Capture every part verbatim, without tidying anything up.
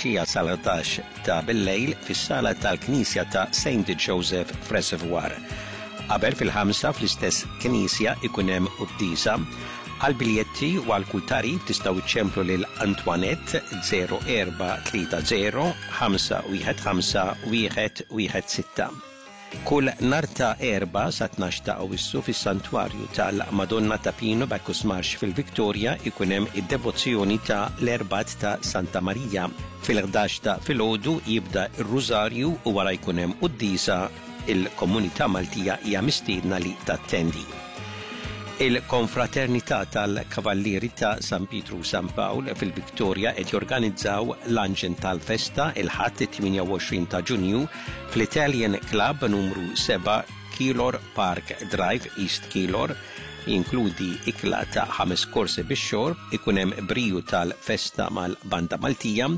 filgħaxija sal-ħdax ta' billejl fis-sala tal-Knisja ta' Saint Joseph f'Reservoir. Qabel fil-ħamsa fl-istess knisja ikun hemm quddiesa. Għal biljetti u għal kull tagħrif tistgħu iċċemplu lil Antoinette zero erba' tlieta zero ħamsa wieħed ħamsa wieħed wieħed sitta. Kull nhar ta' Erbgħa sa tnax ta' Awwissu fis-Santwarju tal-Madonna ta' Pino Bacchus Marsh fil-Victoria ikun hemm id-devozzjoni ta' l-Erbgħat ta' Santa Marija. Fil-ħdax ta' filgħodu jibda r-Rużarju u wara jkun hemm quddiesa. Il-komunità Maltija hija mistiedna li tattendi. Il-Konfraternità tal-Kavallieri ta' San Pietru u San Pawl fil-Victoria qed jorganizzaw l-anġen tal-festa il-Ħadd it-tmienja u għoxrin ta' Ġunju fl-Italian Club numru seba' Keilor Park Drive, East Keilor. Jinkludi ikla ta' ħames korsi bix-xorb, ikun hemm briju tal-festa mal-Banda Maltija.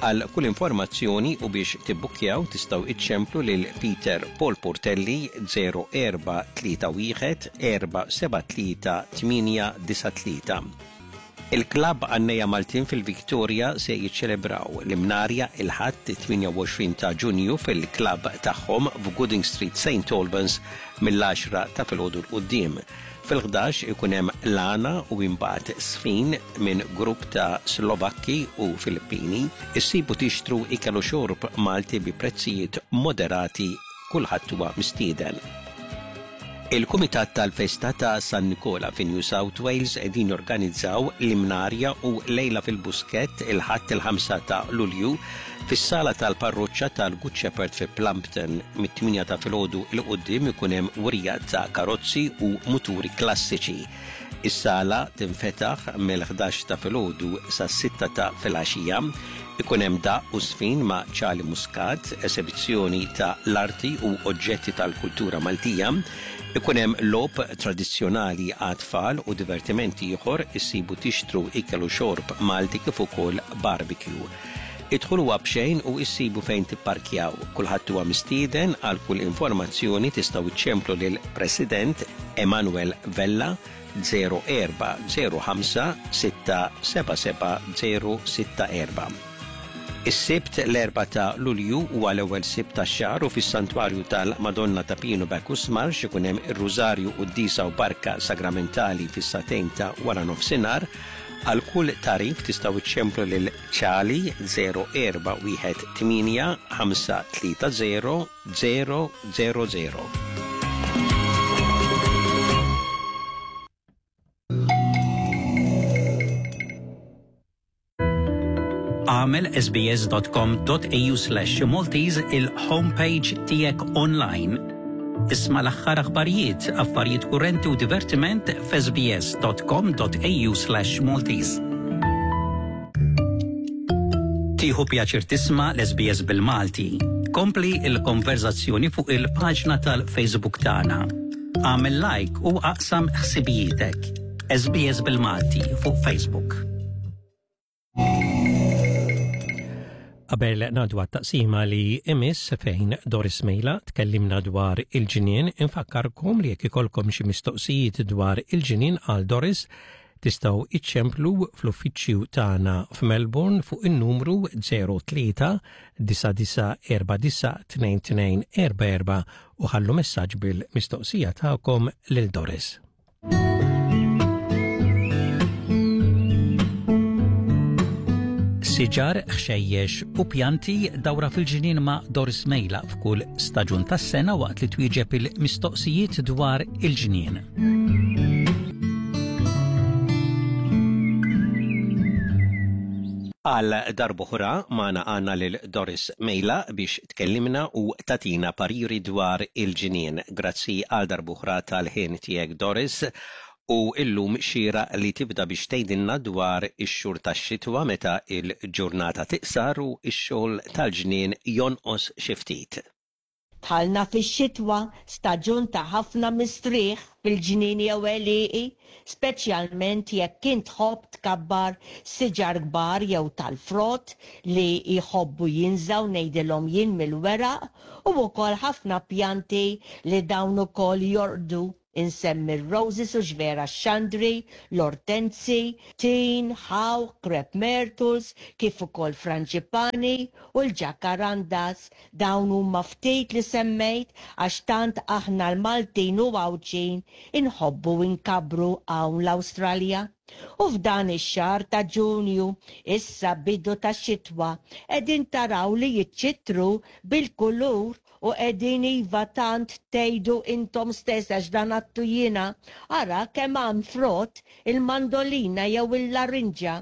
Għal kull informazzjoni u biex tibbukkjaw tistgħu iċċemplu lil Peter Paul Portelli zero erba' tlieta wieħed erba' seba' tlieta tmienja disa' tlieta. Il-Klabb Għannejja Maltin fil-Victoria se jiċċelebraw l-Imnarja il-Ħadd it-tmienja u għoxrin ta' Ġunju fil-klabb tagħhom f'Gooding Street Saint Albans mill-għaxra ta' filgħodu 'l quddiem. Fil-ħdax ikun hemm l-għana u imbagħad sfin minn grupp ta' Slovakki u Filippini. Issibu tixtru ikel u xorb Malti bi prezzijiet moderati, kulħadd huwa mistieden. Il-Kumitat tal-Festa ta' San Nikola fi New South Wales qegħdin jorganizzaw l-Imnarja u Lejla fil-Buskett il-Ħadd il-ħamsa ta' Lulju fis-sala tal-parroċċa tal-Good Shepherd fi Plumpton. Mit-tmienja ta' filgħodu 'l quddiem ikun hemm wirja ta' karozzi u muturi klassiċi. Is-sala tinfetaħ mill-ħdax ta' filgħodu sas-sitta ta' filgħaxija. Ikun hemm daqq u sfin ma' Charlie Muscat, esebizzjoni ta' l-arti u oġġetti tal-kultura Maltija. Ikun hemm logħob tradizzjonali għat-tfal u divertimenti ieħor, issibu tixtru ikel u xorb Malti kif ukoll barbecue. Idħlu huwa b'xejn u issibu fejn tipparkjaw. Kulħadd huwa mistieden. Għal kull informazzjoni tistgħu iċċemplu lil President Emanuel Vella zero erba' zero ħamsa sitta seba' seba' zero sitta erba'. Is-Sibt l-erbgħa ta' Lulju huwa l-ewwel Sibt tax-xahar u fis-Santwarju tal-Madonna ta' Pino Bacchus Marsh ikun hemm ir-Rużarju Quddiesa u Barka Sagramentali fis-sagħtejn ta' wara nofsinhar. Għal kull tagħrif tistgħu iċċemplu lil Charlie zero erba' wieħed tmienja ħamsa tlieta zero zero zero zero. Għamel S B S dot com dot A U slash Maltese il-homepage tiegħek online. Isma' l-aħħar aħbarijiet, affarijiet kurrenti u divertiment f' S B S dot com dot A U slash Maltese. Tieħu pjaċir tisma' l-S B S bil-Malti. Kompli il-konverzazzjoni fuq il-paġna tal-Facebook tagħna. Għamel like u aqsam ħsibijietek. S B S bil-Malti fuq Facebook. Qabel ngħaddu għat-taqsima li imiss fejn Doris Mejla tkellimna dwar il-ġnien, infakkarkom li jekk ikolkom xi mistoqsijiet dwar il-ġnien għal Doris tistgħu iċċemplu fl-uffiċċju tagħna f'Melbourne fuq in-numru zero tlieta disa disa erba' disa tnejn tnejn erba' erba' u ħallu messaġġ bil-mistoqsija tagħkom lil Doris. Siġar, ħxejjex u pjanti dawra fil-ġnien ma' Doris Mejla f'kull staġun tas-sena waqt li twieġeb il-mistoqsijiet dwar il-ġnien. Għal darb'oħra magħna għandna lil Doris Mejla biex tkellimna u tatina pariri dwar il-ġnien. Grazzi għal darb'oħra tal-ħin tiegħek Doris. U illum xira li tibda biex tgħidilna dwar ix-xhur tax-xitwa meta il-ġurnata tiqsar u x-xogħol tal-ġnien jonqos xi ftit. Dħalna fix-xitwa, staġun ta' ħafna mistrieħ fil-ġnien jew għelieqi, speċjalment jekk int tħobb tkabbar siġar kbar jew tal-frott li jħobbu jinżaw ngħidilhom jien mill-weraq, u wkoll ħafna pjanti li dawn ukoll jorqdu Insemmi r-roses u x'vera xandri, l-ortenzi, tin, ħawħ, crepe myrtles, kif ukoll frangipani u l-ġakarandas. Dawn huma ftit li semmejt għax tant aħna l-Maltin u Għawdxin inħobbu inkabbru hawn l-Awstralja. U f'dan ix-xahar ta' Ġunju, issa bidu ta' xitwa, qegħdin taraw li jiċċittru bil-kulur u qegħdin iva tant tgħidu intom stess għax dan għattu jiena, ara kemm hemm frott il-mandolina jew il-larinġa.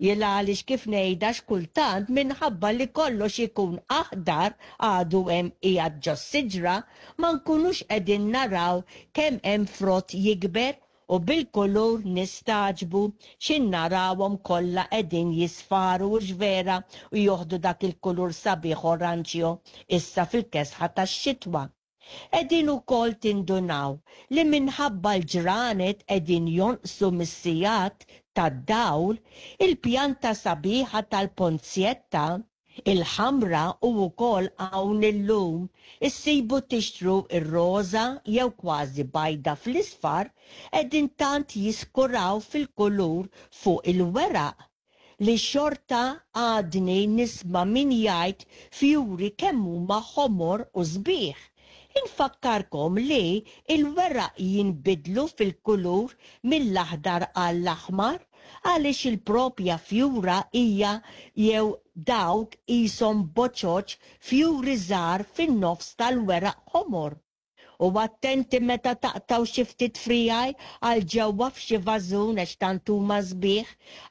Jien għaliex kif ngħidha x'kultant minħabba li kollox ikun aħdar għadu hemm qiegħed ġos-siġra, ma nkunux qegħdin naraw kemm hemm frott jikber u bil-kulur nistagħġbu xin narawhom kollha qegħdin jisfaru u x'vera u joħdu dak il-kulur sabiħ oranġjo issa fil-kesħa tax-xitwa. Qegħdin ukoll tindunaw li minħabba l-ġranet qegħdin jonqsu mis-sigħat tad-dawl, il-pjanta sabiħa tal-ponzjetta il-ħamra u wkoll hawn illum issibu tixtru ir-roża jew kważi bajda fl-isfar qegħdin tant jiskuraw fil-kulur fuq il-weraq li xorta għadni nisma' min jgħid fjuri kemm huma ħomor u sbieħ. Infakkarkom li il-weraq jinbidlu fil-kulur mill-aħdar għall-aħmar għaliex il-propja fjura hija jew dawk qishom boċoċ fjuri żgħar fin-nofs tal-weraq ħomor. U attenti meta taqtaw xi ftit frijaj għal ġewwa f'xi vażun għax tant huma sbieħ,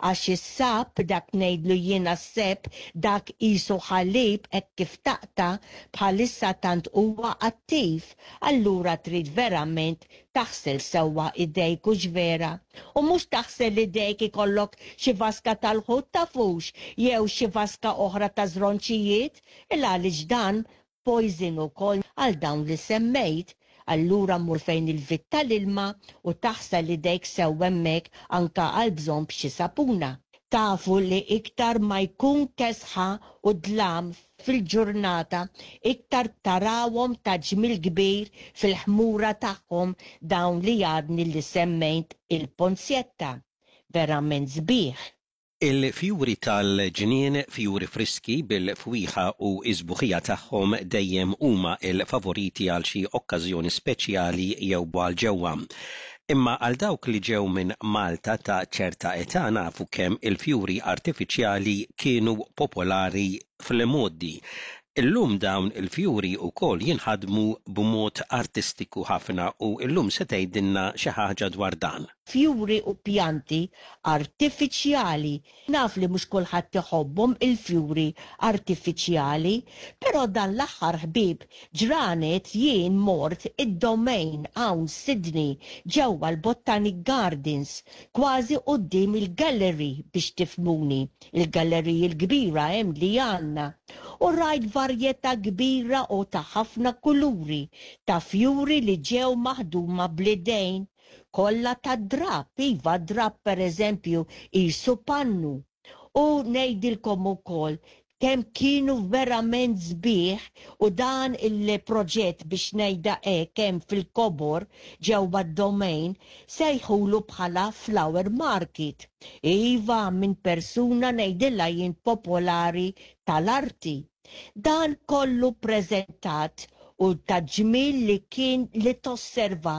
għax is-sap dak ngħidlu jiena s-sep dak qisu ħalib hekk kif taqta' bħalissa tant huwa attiv, allura trid verament taħsel sewwa idejk u x'vera. U mhux taħsel idejk ikollok xi vaska tal-ħut tafux jew xi vaska oħra ta' żronċijiet, il għaliex dan poison ukoll għal dawn li semmejt. Allura mur fejn il-vit tal-ilma u taħsel idejk sew hemmhekk anka għal bżonn b'xi sapuna. Tafu li iktar ma jkun kesħa u dlam fil-ġurnata, iktar tarawhom ta' ġmiel kbir fil-ħmura tagħhom dawn li għadni li semmejt il-ponzjetta. Verament sbieħ. Il-fjuri tal-ġnien, fjuri friski bil-fwieħa u s-sbuħija tagħhom dejjem huma il-favoriti għal xi okkażjoni speċjali jew għal ġewwa. Imma għal dawk li ġew minn Malta ta' ċerta età nafu kemm il-fjuri artifiċjali kienu popolari fl-modi. Illum dawn il-fjuri wkoll jinħadmu b'mod artistiku ħafna u illum se tgħidilna xi ħaġa dwar dan. Fjuri u pjanti artifiċjali. Naf li mhux kulħadd iħobbhom il-fjuri artifiċjali, però dan l-aħħar ħbieb ġranet jien mort id-Domain hawn Sydney ġewwa l-Botanic Gardens, kważi quddiem il-gallery biex tifhmuni, il-gallery l-kbira hemm li għandna. U rajt varjetà kbira u ta' ħafna kuluri ta' fjuri li ġew maħduma bl-idejn, kollha ta' drap, iva drap per eżempju qisu pannu. U ngħidilkom ukoll kemm kienu verament sbieħ u dan il-proġett biex ngħidha hekk hemm fil-kobor ġewwa d-Domain sejħulu bħala Flower Market. Iva minn persuna ngħidilha jien popolari tal-arti. Dan kollu preżentat u ta' ġmiel li kien li tosserva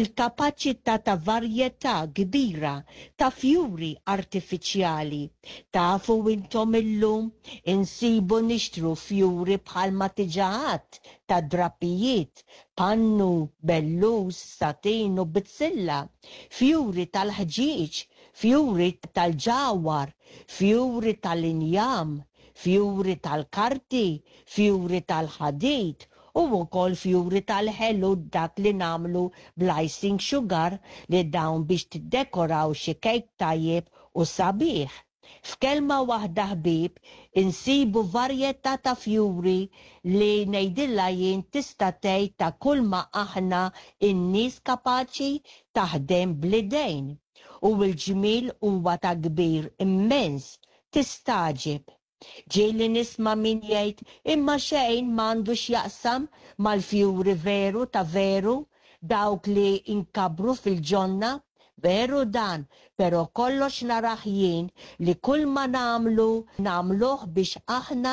il-kapaċità ta' varjetà kbira ta' fjuri artifiċjali. Tafu intom illum insibu nixtru fjuri bħalma diġà għedt ta' drapijiet, pannu, bellus, satin u bizzilla, fjuri tal-ħġieġ, fjuri tal-ġawar, fjuri tal-injam, fjuri tal-karti, fjuri tal-ħadid, u wkoll fjuri tal-ħelu dak li nagħmlu bl-icing sugar li dawn biex tiddekoraw xi kejk tajjeb u sabiħ. F'kelma waħda ħbieb insibu varjetà ta' fjuri li ngħidilha jien tista' tgħid ta' kull ma aħna n-nies kapaċi taħdem bl-idejn. U l-ġmiel huwa ta' kbir immens, tistagħġeb. Ġieli nisma' min jgħid imma xejn m'għandu x'jaqsam mal-fjuri veru ta' veru, dawk li nkabbru fil-ġonna. Veru dan, pero kollox narah jien li kull ma nagħmlu nagħmluh biex aħna